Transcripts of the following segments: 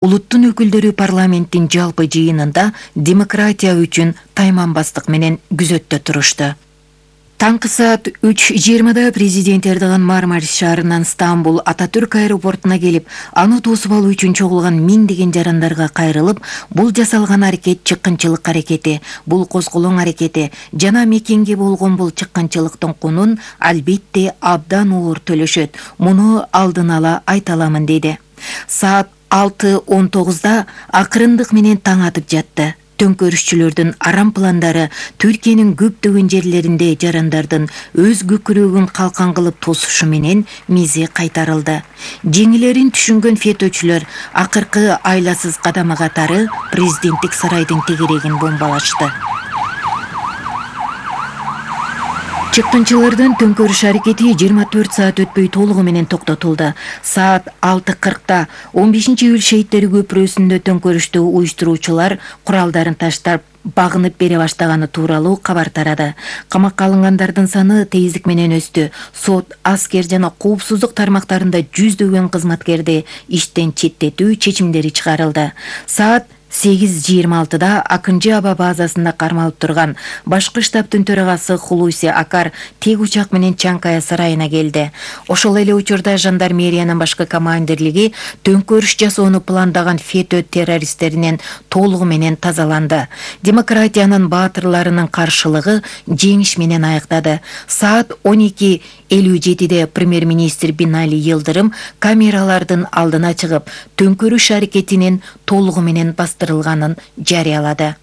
Улуттун өкүлдөрү парламенттин жалпы жыйынында демократия үчүн тайманбастык менен күзөттө турушту. Таңкы саат 3:20 президент Эрдоган Мармарис шаарынан Стамбул Ататүрк аэропортуна келип, аны тосуп алуу үчүн чогулган миңдеген жарандарга кайрылып, бул жасалган аракет чыккынчылык аракети, бул козголоң аракети жана мекенге болгон бул чыккынчылыктын кунун албетте абдан оор төлөшөт. Муну алдын ала айта аламын деди. Саат 6:19 акырындык менен таң атып жатты. Төңкөрүшчүлөрдүн арам пландары Түркиянын көптөгөн жерлеринде жарандардын өз көкүрөгүн калкан кылып тосушу менен мизи кайтарылды. Жеңилерин түшүнгөн фетөчүлөр акыркы айласыз кадамы катары президенттик сарайдын тегерегин бомбалашты. Чыккынчылардын төңкөрүш аракети 24 саат өтпөй толугу менен токтотулду. Саат 6:40 15-июль шейиттери көпүрөсүндө төңкөрүштү уюштуруучулар куралдарын таштап багынып бере баштаганы тууралуу кабар тарады. Камакка алынгандардын саны тездик менен өстү. Сот, аскер жана коопсуздук тармактарында жүздөгөн кызматкерди иштен четтетүү чечимдери чыгарылды. Саат 8:26 Акынжы аба базасында кармалып турган башкы штабтын төрагасы Хулуси Акар тег учак менен Чанкая сарайына келди. Ошол эле учурда жандармериянын башкы командирлиги төңкөрүш жасоону пландаган фетө террористтеринен толугу менен тазаланды. Демократиянын баатырларынын каршылыгы жеңиш менен аяктады. Саат 12:57 премьер-министр Бинали Йылдырым камералардын алдына чыгып, төңкөрүш аракетинин толугу менен бастырылганын жарыялады.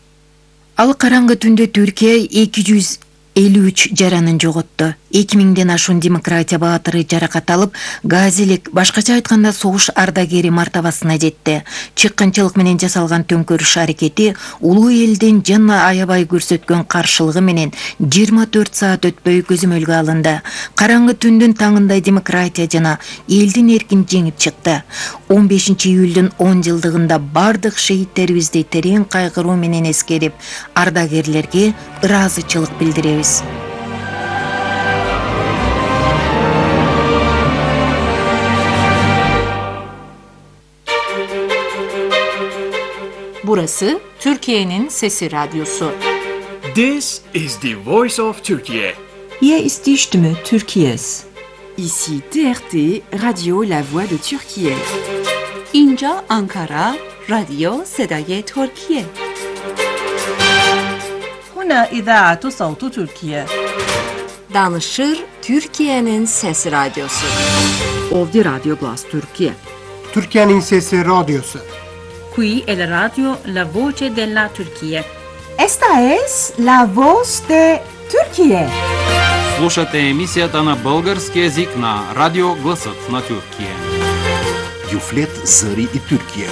Ал караңгы түндө Түркия 253 жаранын жоготту. 2000ден ашуун демократия баатыры жаракат алып, газилик, башкача айтканда согуш ардагери мартабасына жетти. Чыккынчылык менен жасалган төңкөрүш аракети улуу элдин жана аябай көрсөткөн каршылыгы менен 24 саат өтпөй көзөмөлгө алынды. Караңгы түндүн таңында демократия жана элдин эркин жеңип чыкты. 15-июлдун 10 жылдыгында бардык шейттерибизди терең кайгыруу менен эскерип, ардагерлерге ыраазычылык билдиребиз. Burası Türkiye'nin Sesi Radyosu. This is the voice of Turkey. Hier ist die Stimme Türkiye's. Ici TRT, Radio La Voix de Türkiye. İnca Ankara, Radio Sedaye Türkiye. هنا إذاعة صوت تركيا. Danışır Türkiye'nin Sesi Radyosu. Ovdi Radio Glas Türkiye. Türkiye'nin Sesi Radyosu. Qui è la radio La Voce della Turquía. Esta es La Voz de Turquía. Слушате емисията на български език на Радио Гласът на Türkiye. Юфлет Зари и Türkiye.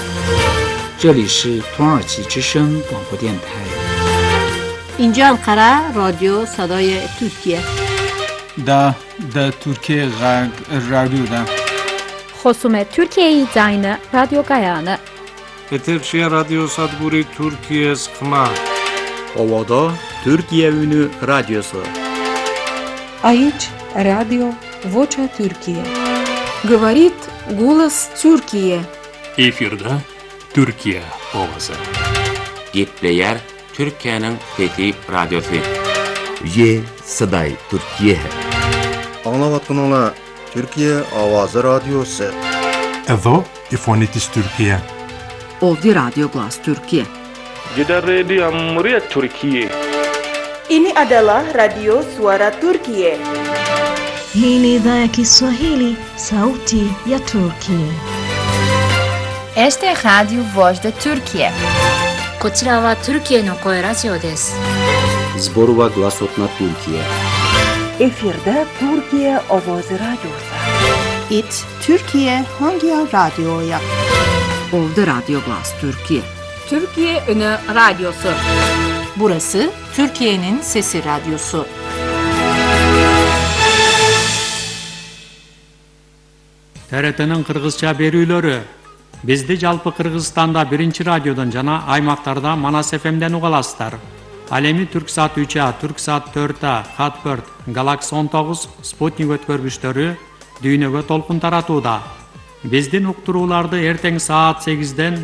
这里是土耳其之声广播电台。اینجا انقره رادیو صدای ترکیه. دا ترکیه رادیو دا. خصوم ترکیه زاین رادیو گایانه. Eterşehir Radyo Sadburi Türkiye Sıkma. Ovada Türkiye Ünü Radyosu. Aici Radio Vocea Türkiye. Говорит голос Türkiye. Efirde Türkiye ovası. Gepleyer Türkiye'nin Fethi Radyosu. Ye Saday Türkiye. Anlavatın Türkiye Avazı Radyosu. Edo İfonitis Türkiye. Ovdi Radio Glas Türkiye. Jeddah Radio Amriyat Türkiye. Ini adalah Radio Suara Turkiye. Hii ni idhaa ya Kiswahili, Sauti ya Turkiye. Este es Radio Voz de Turkiye. こちらはトルキエの声ラジオです。Zborova Glasot na Türkiye. Efirde Türkiye Ovozi Radyosu. It Türkiye hangi radyoya? Ovdi Radio Glas Türkiye. Türkiye Ünü Radyosu. Burası Türkiye'nin Sesi Radyosu. TRT'nin Kırgızça berүүлөрү. Bizdi жалпы Кыргызстанда биринчи радиодон жана аймактарда Манас ФМден уга аласыздар. Ал эми Түрксат 3А, Түрксат 4А, Хатбird, Galaxy 19, Sputnik өткөргүчтөрү дүйнөгө толкун таратууда. Биздин уктурууларды эртең саат 8-ден